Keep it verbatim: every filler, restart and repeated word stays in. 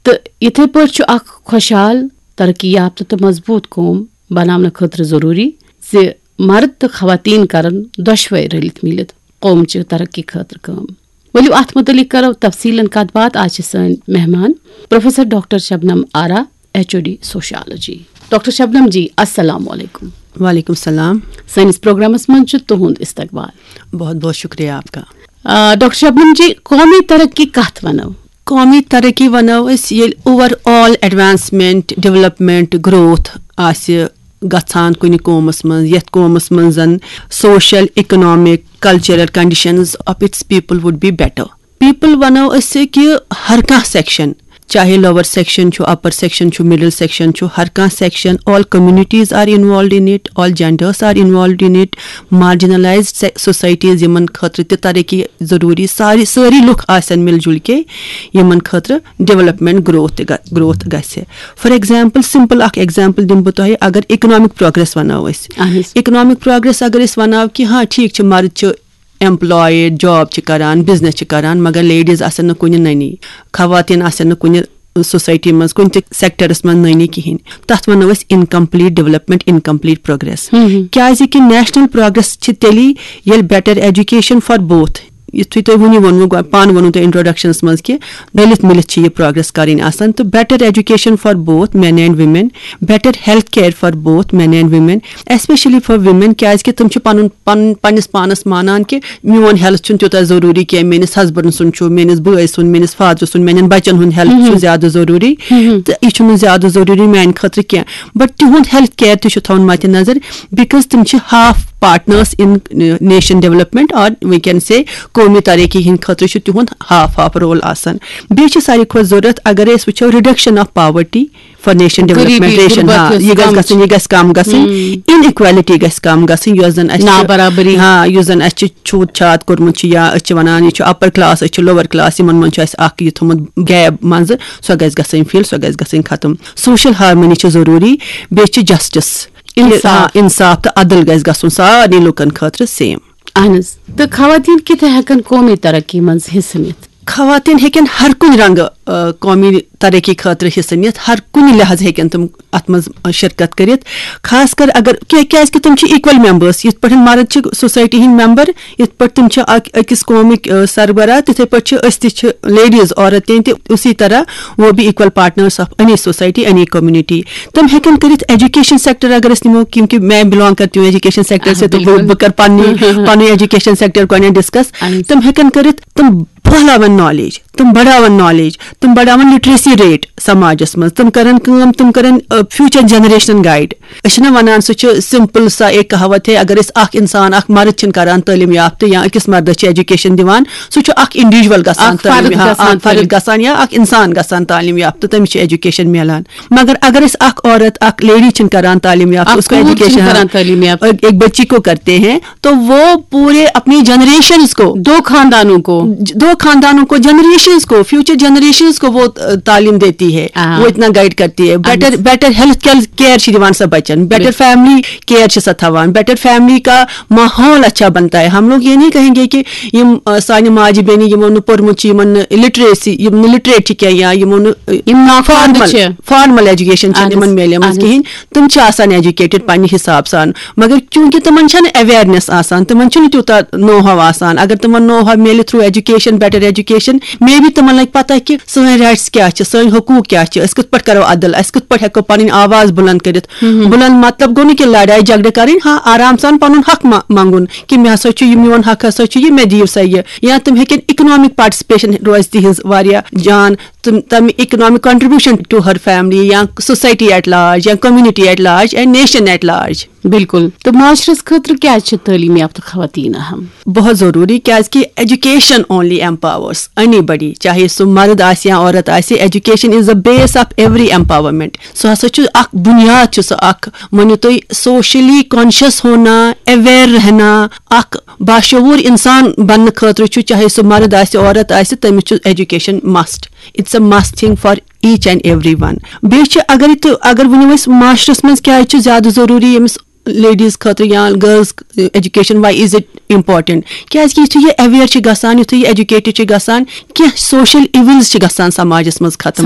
تہٕ یِتھے پٲٹھۍ چھُ اکھ خۄشحال، ترقی یافتہٕ تہٕ مضبوٗط قوم بناونہٕ خٲطرٕ ضروٗری زِ مرد تہٕ خواتین کرن دۄشوے رٔلِتھ میٖلِتھ قومچہِ ترقی خٲطرٕ کٲم۔ ؤلِو اتھ مُتعلق کرو تفصیلن کتھ باتھ۔ آز چھِ سٲنۍ مہمان professor doctor Shabnam Ara, H O D sociology. Doctor Shabnam ji, السلام علیکم۔ وعلیکم السلام۔ سٲنِس پروگرامس منٛز چھُ تُہُنٛد استقبال۔ بہت بہت شکریہ آپ کا۔ آ، ڈاکٹر شبنم جی، قومی ترقی کتھ ونو؟ قومی ترقی ونو أسۍ ییٚلہِ over all advancement, development, growth آسہِ گژھان کُنہِ قومس منٛز، یتھ قومس منٛز زن social, economic, cultural conditions of its people would be better. People ونو أسۍ کہِ ہر کانٛہہ سیکشن، چاہے لوور سیکشن چھُ، اپر سیکشن چھُ، مڈل سیکشن چھُ، ہر کانٛہہ section, all communities are involved in it, all genders are involved in it, marginalized societies، یِمن خٲطرٕ تہِ ترقی ضروٗری، ساری سٲری لُکھ آسن مِل جُل کے یِمن خٲطرٕ ڈیولپمنٹ گروتھ تہِ گژھِ۔ فار ایگزامپل، سمپل اکھ ایگزامپل دِمہٕ بہٕ تۄہہِ، اگر اکنامک پروگریس ونو أسۍ، اہن حظ۔ اکنامک پروگریس اگر أسۍ ونو کہِ ہاں ٹھیٖک چھِ، مرد چھِ ایمپلایڈ، جاب چھِ کران، بزنس چھِ کران، مگر لیڈیز آسن نہٕ کُنہِ نٔنی، خواتین آسن نہٕ کُنہِ سوسایٹی منٛز، کُنہِ تہِ سیکٹرس منٛز نٔنی کِہینۍ۔ تتھ ونو أسۍ incomplete development, incomplete progress۔ ہم۔ کیازِ کہِ نیشنل پروگریس چھِ تیٚلی ییٚلہِ better education for both، یِتھُے تۄہہِ وُنی ووٚنوٕ گۄ-، پانہٕ ووٚنوٕ تۄہہِ انٹروڈکشنس منٛز کہِ رٔلِتھ مِلِتھ چھِ یہِ پروگریس کرٕنۍ آسان۔ تہٕ better education for both men and women, better health care for both men and women, especially for women، کیازِ کہِ تِم چھِ پنُن پن پننِس پانس مانان کہِ میون ہیلتھ چھُنہٕ تیوٗتاہ ضروٗری کینٛہہ، میٲنِس ہسبنڈ سُنٛد چھُ، میٲنِس بٲے سُنٛد، میٲنِس فادر سُنٛد، میانٮ۪ن بچن ہُنٛد ہیلتھ چھُ زیادٕ ضروٗری، تہٕ یہِ چھُنہٕ زیادٕ ضروٗری میانہِ خٲطرٕ کینٛہہ۔ بٹ تِہُنٛد ہیلتھ کیر تہِ چھُ تھاوُن مدِ نظر، because تِم چھِ half partners in nation development, or we can say قومی ترقی ہٕنٛدِ خٲطرٕ چھُ تِہُنٛد half half role آسان۔ بیٚیہِ چھِ ساروی کھۄتہٕ ضروٗرت، اگر أسۍ وٕچھو، reduction of poverty for nation development, غریٖبی، ration، غُربت ہاں، یۄس یہِ گژھِ کم گژھٕنۍ، یہِ گژھِ کم گژھٕنۍ۔ Inequality گژھِ کم گژھٕنۍ، یۄس زن اَسہِ چھِ، نابرابری۔ ہاں، یُس زن اَسہِ چھِ چھوٗت چھات کوٚرمُت چھُ، یا أسۍ چھِ ونان یہِ چھُ upper class، أسۍ چھِ lower class، یِمن منٛز چھُ اَسہِ اکھ یہِ تھوٚمُت gap منٛزٕ، سۄ گژھِ گژھٕنۍ fill، سۄ گژھِ گژھٕنۍ ختم۔ Social harmony چھِ ضروٗری، بیٚیہِ چھِ justice، انصاف۔ آ، انصاف تہٕ عدل گژھِ گژھُن سارنٕے لُکن خٲطرٕ same۔ اہن حظ۔ تہٕ خواتین کِتھ ہٮ۪کن قومی ترقی منٛز حصہٕ نِتھ؟ خواتین ہیٚکن ہر کُنہِ رنگہٕ، آ، قومی ترقی خٲطرٕ حصہٕ نِتھ، ہر کُنہِ لحاظ ہیٚکن تِم اتھ منٛز، آ، شرکت کٔرِتھ۔ خاص کر اگر کیا-، کیازِ کہِ تِم چھِ equal members، یِتھ پٲٹھۍ مرد چھِ سوسایٹی ہٕنٛدۍ member، یِتھ پٲٹھۍ تِم چھِ اکھ أکِس قومٕکۍ، آ، سربراہ، تِتھے پٲٹھۍ چھِ أسۍ تہِ چھِ ladies، عورتیں تہِ اسی طرح وہ بھی equal partners of any society, any community۔ تِم ہیٚکن کٔرِتھ ایجوکیشن سیکٹر اگر أسۍ نِمو، کیونکہ میں belong کرتی ہوں ایجوکیشن سیکٹر سے، تو بہٕ، بہٕ کرٕ پننی، پننی ایجوکیشن سیکٹر گۄڈٕنیتھ discuss۔ تِم ہیٚکن کٔرِتھ، تِم پھٔہلاون knowledge، تِم بڑاون knowledge، تِم بڑاون literacy rate سماجس منٛز، تِم کرن کٲم، تِم کرن، آ، future generation guide۔ أسۍ چھِنہ ونان، سُہ چھُ simple سا ایک کہاوت ہے، اگر أسۍ اکھ انسان، اکھ مرد چھِنہٕ کران تعلیٖم یافتہٕ یا أکِس مردس چھِ ایجوکیشن دِوان، سُہ چھُ اکھ individual گژھان، اکھ تعلیٖم فرد یا گژھان اکھ فرد تعلیٖم۔ گژھان یا اکھ انسان گژھان تعلیٖم یافتہٕ، تٔمِس چھِ ایجوکیشن میلان۔ مگر اگر أسۍ اکھ عورت، اکھ lady چھِنہٕ کران تعلیٖم یافتہٕ، اکھ اس کو کوٗر چھِنہٕ ایجوکیشن، کران تعلیٖم یافتہٕ۔ ایک، ایک بچی کو کرتے ہیں، تو وہ پورے اپنی جنریشنز کو، دو خاندانوں کو۔ دو خاندانوں کو، جنریشنز کو، فیوچر جنریشنز کو وہ، آ، تعلیم دیتی ہے، آ۔ وہ اتنا گائیڈ کرتی ہے۔ بیٹر، اہن۔ بیٹر ہیلتھ کیئر چھِ دِوان سۄ بچن، بیٹر بِلکُل۔ فیملی کیئر چھِ سۄ تھاوان، بیٹر فیملی کا ماحول اچھا بنتا ہے۔ ہم لوگ یہ نہیں کہیں گے کہ یِم، آ، سانہِ ماجہِ بیٚنہِ یِمو نہٕ پوٚرمُت چھُ، یِمن نہٕ لٹریسی، یِم نہٕ لٹریٹ چھِ کینٛہہ یا یِمو نہٕ، آ، یِم نافٲہِم فارمل، چھِ۔ فارمل ایجوکیشن چھِ اہن یِمن حظ، میلیمٕژ اہن حظ۔ کِہیٖنۍ، تِم چھِ آسان ایجوکیٹڈ پننہِ حساب سان، مگر چونکہ تِمن چھنہٕ اویرنیس آسان، تِمن چھُنہٕ تیوٗتاہ نو ہاو آسان۔ اگر تِمن نو ہاو میلہِ through education, better education, may be تِمن لگہِ پتہ کہِ سٲنۍ رایٹس کیٛاہ چھِ، سٲنۍ حقوٗق کیٛاہ چھِ، أسۍ کِتھ پٲٹھۍ کرو عدل، أسۍ کِتھ پٲٹھۍ ہٮ۪کو پنٕنۍ آواز بُلند کٔرِتھ۔ بُلند مطلب گوٚو نہٕ کہِ لڑایہِ جھگڑٕ کرٕنۍ، ہاں، آرام سان پنُن حق ما-، منٛگُن کہِ مےٚ ہسا چھُ یہِ، میون حق ہسا چھُ یہِ، مےٚ دِیِو سا یہِ۔ یا تِم ہیٚکن اکنامک پارٹسپیشن روزِ تِہنٛز واریاہ جان، تِم، تَمہِ economic contribution to her family یا society at large یا community at large and nation at large۔ بِلکُل۔ تہٕ معاشرس خٲطرٕ کیٛازِ چھِ تعلیٖم یافتہٕ خواتین اہم؟ بہت ضروٗری، کیازِ کہِ education only empowers anybody، چاہے سُہ مرد آسہِ یا عورت آسہِ، education is the base of every empowerment۔ سُہ ہسا چھُ اکھ بُنیاد، چھُ سُہ اکھ، مٲنِو تُہۍ، socially conscious ہونا، aware رہنا، اکھ باشعوٗر انسان بننہٕ خٲطرٕ چھُ، چاہے سُہ مرد آسہِ، عورت آسہِ، تٔمِس چھُ education must۔ It's a must thing for each and every one۔ بیٚیہِ چھِ، اگر تہِ، اگر ؤنِو أسۍ معاشرس منٛز کیٛازِ چھُ زیادٕ ضروٗری ییٚمِس لیڈیز خٲطرٕ یا girls education, why is it important؟ کیازِ کہِ یُتھُے یہِ اویئر چھِ گژھان، یُتھُے یہِ ایجوکیٹڈ چھِ گژھان، کینٛہہ social evils چھِ گژھان سماجس منٛز ختم۔